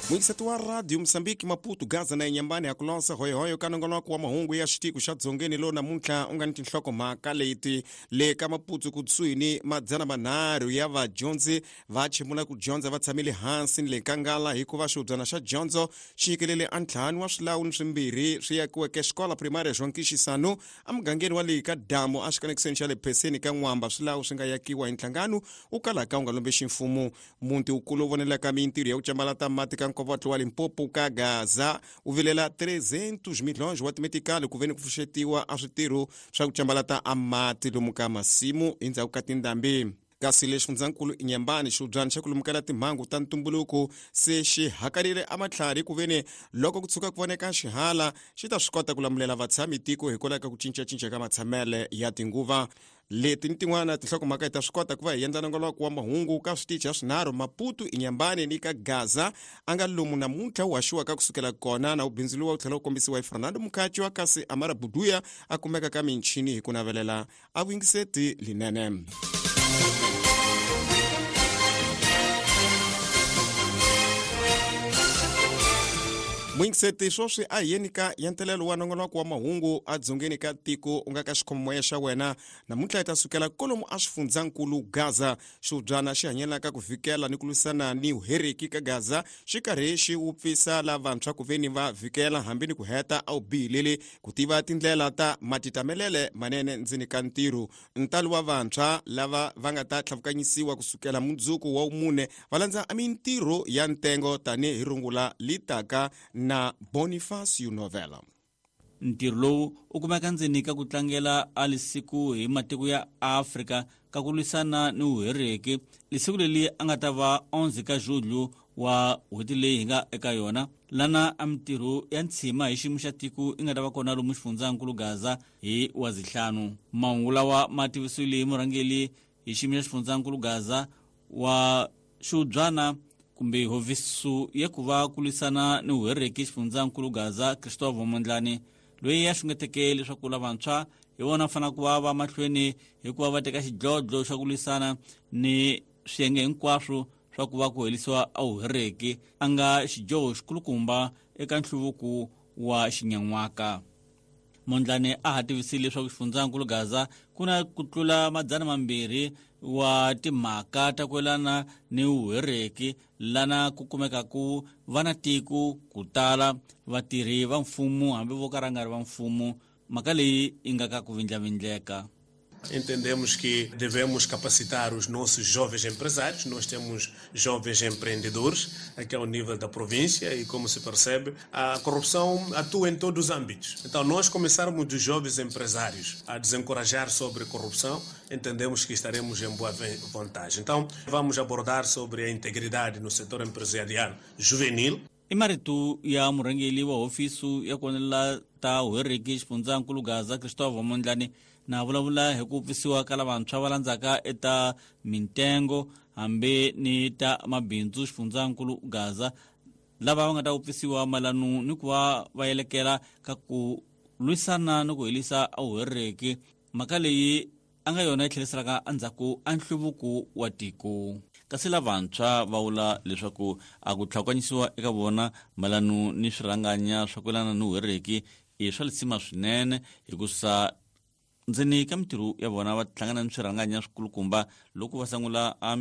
Muyingiseti wa Radio Mosambiki, Maputo, Gaza na Inyambani, ya kulosa hoyohoyo ka nongonoko wa mahungu ya xitiko xa Dzongeni lowu namuntlha u nga ni tinhlokomhaka leti. Le ka Maputo kusuhi ni 300 ya vadyondzi va chimula ku dyondza va tshamile hansi ni le nkangala hikuva xihubyana xa dyondzo xi nyikelele a ntlhanu wa swilawu ni swimbirhi swi yakiweke xikola primary João emugangeni wa le ka damu exikanekisweni xa le pheseni ka N'wamba. Swilawu swi nga yakiwa hi nhlangano wu kalaka wu nga lombexi mfumo. Muti wukulu wu vonelaka mintirho ya ku cambalata mati ka nkovotlo wa Limpopo ka Gaza wu vilela 300 milhões wa timetikali ku veni ku pfuxetiwa a switirho swa ku cambalata a mati lomu ka masimu endzhaku ka tindhambi. Kasi le xifundzankulu Inyambani, xihubyana xa ku lumukela timhangu ta ntumbuluko se xi hakarile amatlhari ku veni loko ku tshuka ku voneka xihala xi ta swi kota ku lamulela vatshami tiko hikwalaho ka ku cincacinca ka matshamele ya tinguva. Leti ni tin'wana tinhlokomhaka hi ta swi kota ku va hi endla nongoloko wa mahungu ka switichi ya swinharhu, Maputo, Inyambani ni ka Gaza, a nga lomu namuntlha wu haxiwaka kusukela kona na wu bindzuriwa wu tlhela wu kombisiwa hi Fernando Mukhatshwa, kasi Amara Buduya a kumeka ka michini hi ku navelela a vuyingiseti linene. Muyingiseti, swoswi a hi yeni ka yentelelo wa nongonoko wa mahungu a dzongeni ka tiko u nga ka xikhomomoya xa wena. Namuntlha hi ta sukela kolomu a xifundzankulu Gaza. Xihubyana xi hanyelaka ku vhikela ni ku lwisana ni vuheriki ka Gaza xi karhi xi wupfisa lavantshwa ku veni va vhikela hambi ni ku heta a wu bihileli ku tiva tindlela ta matitamelele manene ndzeni ka ntirho. Ntalo wa vantshwa lava va nga ta tlhavukanyisiwa kusukela mundzuku wa wumune va landza mintirho ya ntengo tanihi rungula litaka na Bonifacio Novela. Ntirho lowu u kumeka ndzeni ka ku tlangela a lisiku hi matiko ya Afrika ka ku lwisana ni vuhereki. Lisiku leri a nga ta va 11 ka Julho wa n'hweti leyi hi nga eka yona, lana a mintirho ya ntshima hi xiyimo xa tiko yi nga ta va kona lomu xifundzankulu Gaza hi wa zihlanu. Mahungu lawa ma tivisiwile hi murhangeri hi xiyimo xa xifundzankulu Gaza wa xihubyana kumbe hofisi ya ku va ku lwisana ni vuhereki xifundzankulu Gaza, Christophe Mondlane, loyi a xungeteke leswaku lavantshwa hi vona fanele ku va va mahlweni hikuva va teka xidlodlo xa ku lwisana ni swiyenge hinkwaswo swa ku va ku herisiwa a vuhereki, a nga xidyoho xikulukumba eka nhluvuko wa xinyan'waka. Mondlane a ha tivisile leswaku xifundzankulu Gaza ku na ku tlula 200 wa timhaka ta ku yelana ni vuhereki, lana ku kumekaku va na tiko ku tala vatirhi va mfumo hambi vo ka ra nga ri va mfumo. Mhaka leyi yi nga ka ku vindlavindleka. Entendemos que devemos capacitar os nossos jovens empresários. Nós temos jovens empreendedores aqui ao nível da província e, como se percebe, a corrupção atua em todos os âmbitos. Então, nós começarmos dos jovens empresários a desencorajar sobre corrupção, entendemos que estaremos em boa vantagem. Então, vamos abordar sobre a integridade no setor empresarial juvenil. I marito ya murhangeri wa hofisi ya ku ta vuhereki xifundzankulu Gaza, Christophe Mondlane, na vulavula hi ku pfisiwa ka lavantshwa va landzaka eta mintengo hambi ni ta mabindzu xifundzankulu Gaza, lava va nga ta wupfisiwa mayelano ni ku va va yelekela ka ku lwisana ni ku herisa vuhereki. Mhaka leyi a nga yona yi tlheriselaka endzhaku a nhluvuko wa tiko. Kasi lavantshwa va vula leswaku a ku tlhakanyisiwa eka vona mayelano ni swirhanganya swa ku yelana ni vuhereki i swa lisima swinene, hikusa ndzeni ka mintirho ya vona va hlangana ni swirhanganya swikulukumba loko va sungula a